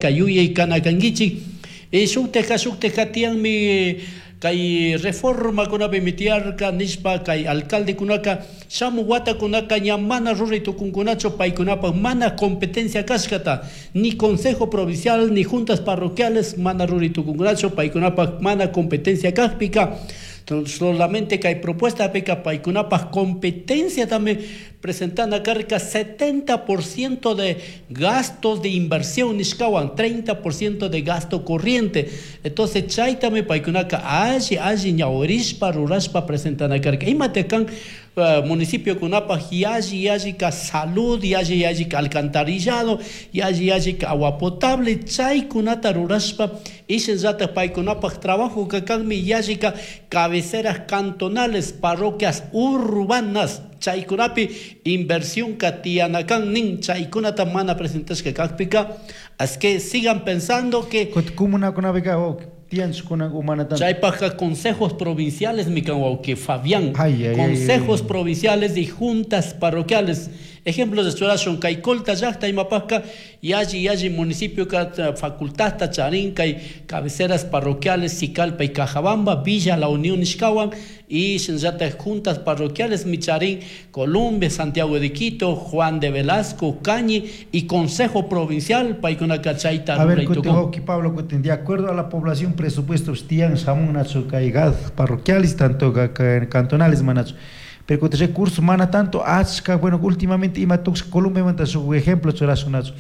Yuyay kana kankichik. Shuktajka shuktajka tiyanmi kay reformakunapimi tiyarka nishpa kay alcaldekunaka shamuk watakunaka ña mana ruray tukunkunachu paykunapak mana competencia kashkata ni consejo provincial ni juntas parroquiales mana ruray tukunkunachu paykunapak mana competencia kakpika. Solamente kay propuestapika paykunapak competenciatami presentana karka 70% de gastos de inversión nishkawan, 30% de gasto corriente. Entonces chaytami paykunaka alli alli ñawirishpa rurashpa presentana karka. Imata kan municipiokunapaj yalli yalli ka salud, yalli yalli ka alcantarillado, yalli yalli ka agua potable, chaykunata rurashpa ishinllatak paykunapaj trabajo kanmi yalli ka cabeceras cantonales, parroquias urbanas, chaykunapi inversión ka tiyana kan nin chaykunata mana presentashka kakpika. Así que sigan pensando que Comunakunapika tiyanchukuna umana tanto. Chaypajka consejos provinciales mi kan wawki Fabián. Ay, ay, Consejos ay, ay. provinciales y juntas parroquiales. Ejemplos de churashun kay Colta llaqta imapajka yalli yalli municipio ka facultadta charin kay cabeceras parroquiales Sicalpa y Cajabamba, Villa La Unión nishkawan y shinllatak juntas parroquiales micharín Colombia, Santiago de Quito, Juan de Velasco, Cañi y Consejo Provincial paykunaka chayta A ver, ruray kutin tukun. wawki Pablo, kutin, de acuerdo a la población, presupuesto, tiyan shamun nachu kay gad parroquiales, tanto cantonales manachu. Pero kutin recursos mana tanto achka, bueno, últimamente ima tuksha Colombia manta shuk ejemplo churashun nachu.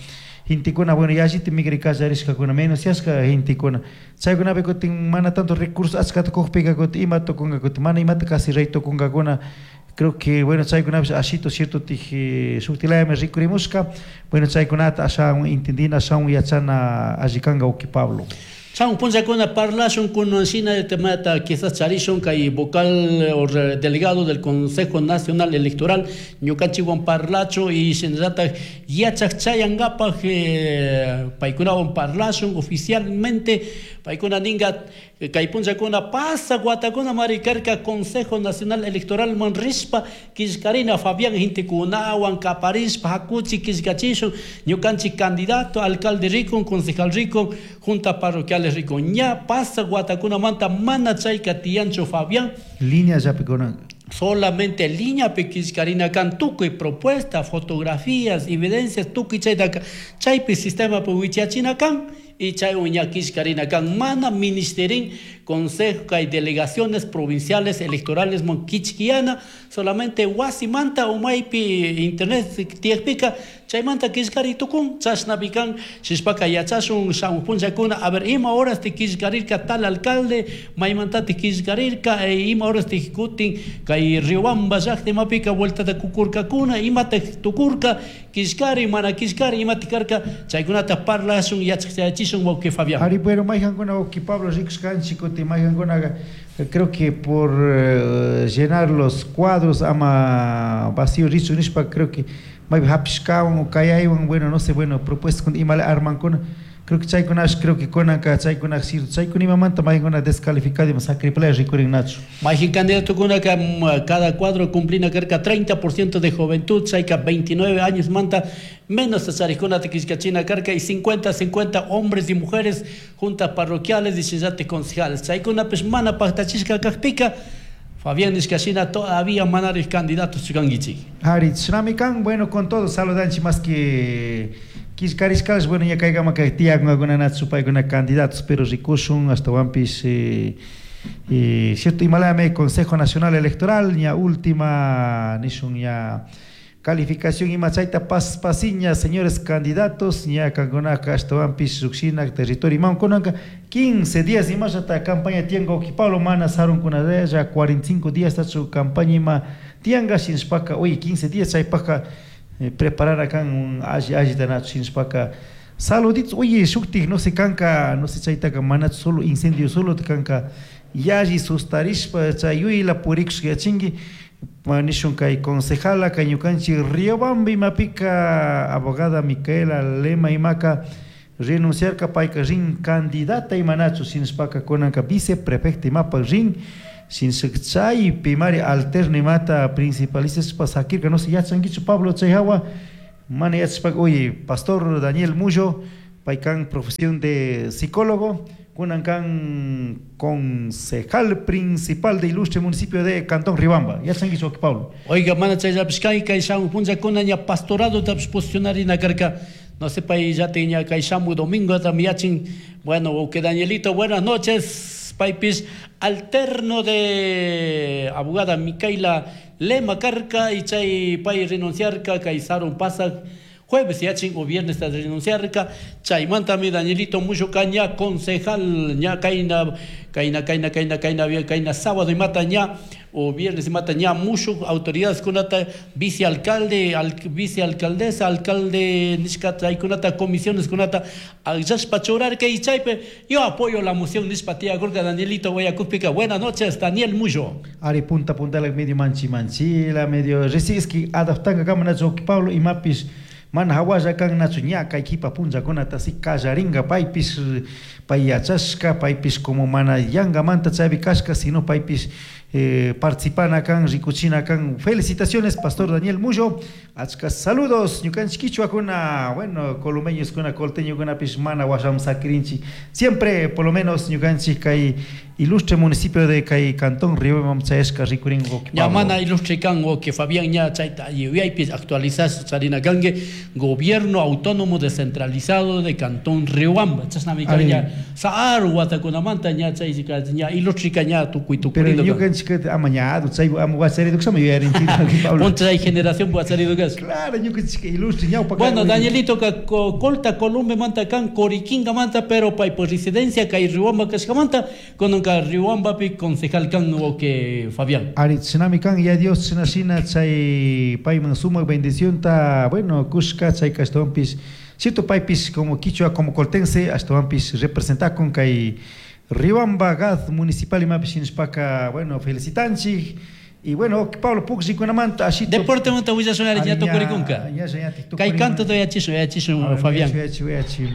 Gentekuna, bueno, yallita migray kallarishkakuna, menos yashka gentekuna. Chaykunapi kutin mana tanto recursos achkata kukpika kutin ima tukunka kutin, mana imata casi rey tukunkakuna. Creo que, bueno, chaykunapish ashito cierto tije shuktilayami rikurimushka. Bueno, chaykunata ashawan entendina, ashawan yachana alli kanka wawki Pablo. Chan punllakuna parlashun kunan shina temata quizás charishun kay vocal o delegado del Consejo Nacional Electoral ñukanchikwan parlachun y shinallatak yachak chayankapak paykunawan parlashun oficialmente paykuna ninka kay punllakuna pasa watakuna mari karka Consejo Nacional Electoral man rishpa killkarina Fabián gentekunawan kaparishpa hakuchi killkachishun ñukanchik candidato alcalde rikun concejal rikun junta parroquiales rikun ña pasa watakunamanta mana chayka tiyanchu Fabián. Línea llapikuna. Solamente línea killkarina kan tukuy propuesta, fotografías, evidencias, tukuy chaytaka chaypi sistema wichachina kan y chay ña killkarina kan mana ministerin consejo kay delegaciones provinciales electorales mon kichkiana solamente wasimanta umaypi internet tiyakpika chaymanta killkari tukun chashnapi kan shishpaka yachashun shamuq punllakuna a ver ima horas te killkarirka tal alcalde maymantati killkarirka ima horas te kutin kay Riobamba llaqta imapika vueltata kukurkakuna imata tukurka killkari mana killkari imata karka chaykunata parlashun yachachishun wawqi Fabián. Ari, bueno, mayqankuna wawqi Pablo rikushkanchik kutin mayqankunaqa creo que por llenar los cuadros ama vacío richun nishpa creo que maypi hapishkawan o kayaywan, bueno, no sé, bueno, propuestas kun imala armankuna. Creo que chaykunash, creo que kunanka chaykuna sirve. Chaykuna imamanta mayqankuna descalificado ima sacriplaya rikurin nachu. Mayqin candidatokunaka cada cuadro cumplina karka 30% de juventud, chayka 29 años manta menos charikkunata killkachina karka y 50-50 hombres y mujeres juntas parroquiales y shinallatik concejales. Chaykunapish mana paktachishka kakpika Fabián nishkashina todavía manarij candidatos chukankichik. Ari, chinami kan, bueno, con todo saludanchik más que killkarishkash, bueno, ña kaykama kay tiyakunkakuna nachu paykuna candidatos, pero rikushun ashtawanpish cierto imalami Consejo Nacional Electoral ña última nishun ña calificación ima chayta pas pasiña señores candidatos ña kankunaka ashtawanpish llukshina territorio iman kunanka 15 días imashata campaña tiyanka wawqi Pablo mana sarunkunalla ya 45 días tachu campaña ima tiyanka shinashpaka oye 15 días chaypaka preparar kan alli allita nachu shinashpaka saluditos oye shuktik no sé kanka no sé chaytaka manachu solo incendio solo kanka yalli sustarishpa chay yuyla purikushka yachinki nishun kay concejala kay ñukanchik Riobamba imapika abogada Micaela Lema imaka renunciarka payka rin candidata imanachu shinashpaka kunanka viceprefecta imapak rin shinashka chaypi mari alterno imata principalista sakirka no sé yachankichu Pablo chay hawa mana yachashpaka oye pastor Daniel Mullo Pay kan profesión de psicólogo, kunan kan concejal principal de ilustre municipio de Cantón Riobamba. Yachankichu wawqi Pablo. Oiga, mana chayllapish kay kay shamuj punllakuna ña pastoradotapish posicionarina karka. No sé, pay llatin ña kay shamuj domingotami yachin. Bueno, wawqi Danielito, buenas noches. Paypish alterno de abogada Micaela Lema karka y chay pay renunciarka kay sarun pasaj jueves yachin o viernes renunciarka. Chaymantami Danielito Mullo ña concejal ña kayna kayna kayna kayna kayna kayna sábado imata ña o viernes imata ña mushuj autoridades kunata vicealcalde al, vicealcaldesa alcalde nishka chaykunata comisiones kunata akllashpa churarka y chaypi yo apoyo la moción nishpa tiyakurka Danielito Guayacupika. Buenas noches, Daniel Mullo. Ari punta puntala medio manchi manchila medio resiski adaptanga kama nachu Pablo imapish mana hawalla kan nachu ña kay kipa punllakunata si kallaringa paypish pay yachashka paypish como mana yangamanta chaypi kashka sino paypish participana kan rikuchina kan. Felicitaciones, pastor Daniel Mullo, achka saludos. Ñukanchik quichuakuna, bueno, columeñoskuna, colteñokunapish mana washaman sakirinchik siempre, por lo menos ñukanchik kay ilustre municipio de kay Cantón Riobamba chayashka rikurin. Ña mana ilustre kan, que Fabián, ña chayta yuyaypi actualizas charina kanki gobierno autónomo descentralizado de Cantón Riobamba, chashnami kan ña saaru watakunamanta ña chay ña ilustre ña tukuy Pero tukurido. Ñukanchik ama ñadu chay ama wachariduksama yuyarinchik. Ponte chay generación wacharidukas. Claro, ñukanchik ilustre ñawpa. Bueno, Danielito ka Colta Columbe manta kan, Coriquinga manta, pero pay por residencia kay Riobamba kashkamanta kunanka Riobambapi concejal kan o que Fabián. Ari chinami kan ya Dios china shina chay payman sumak bendición ta, bueno, kushka chay ashtawanpish cierto paypish como quichua, como coltense ashtawanpish representakun kay Riobamba GAD municipal imapish shinashpaka, bueno, felicitanchik. Y bueno, Pablo, pukllikunamanta ashito. Deporte manta willashun ari ña tukurikunka. Kay canto yachishun yachishun Fabián. Yachi, yachi.